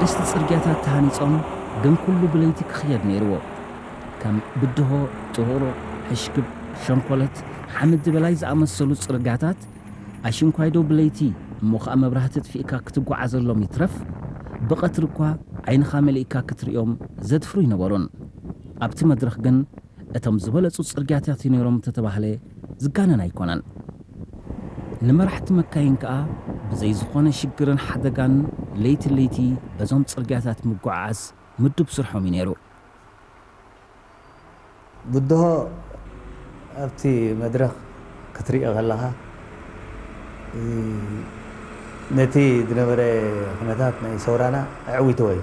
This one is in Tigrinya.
እቲ ጽርግያታት ተሃኒጾም፣ ግን ኩሉ ብለይቲ ክኽየድ ነይርዎ። ከም ብድሆ፣ ጥሩቕ፣ ሕሽክብ፣ ሸንኮለት፣ ሓመድ በላይ ዝኣመሰሉ ጽርግያታት ኣሽንኳይዶ ብለይቲ እሞ ኸኣ መብራህቲ ኣጥፊእካ ክትጓዓዘሎም ይትረፍ፣ ብቐትሪ እኳ ዓይንኻ መሊእካ ክትርእዮም ዘድፍሩ ኣይነበሩን። ኣብቲ መድረኽ ግን እቶም ዝበለጹ ጽርግያታት ነይሮም እንተተባህለ ዝጋነን ኣይኮነን። ንመራሕቲ መካይን ከኣ ብዘይ ዝኾነ ሽግርን ሓደጋን ለይቲ ለይቲ በዞም ጽርግያታት ምጉዓዓዝ ምዱብ ስርሖም እዩ ነይሩ። ብድሆ ኣብቲ መድረኽ ክትሪኦ ከለኻ ነቲ ዝነበረ ኩነታት ናይ ሰውራና ኣዕዊትዎ እዩ።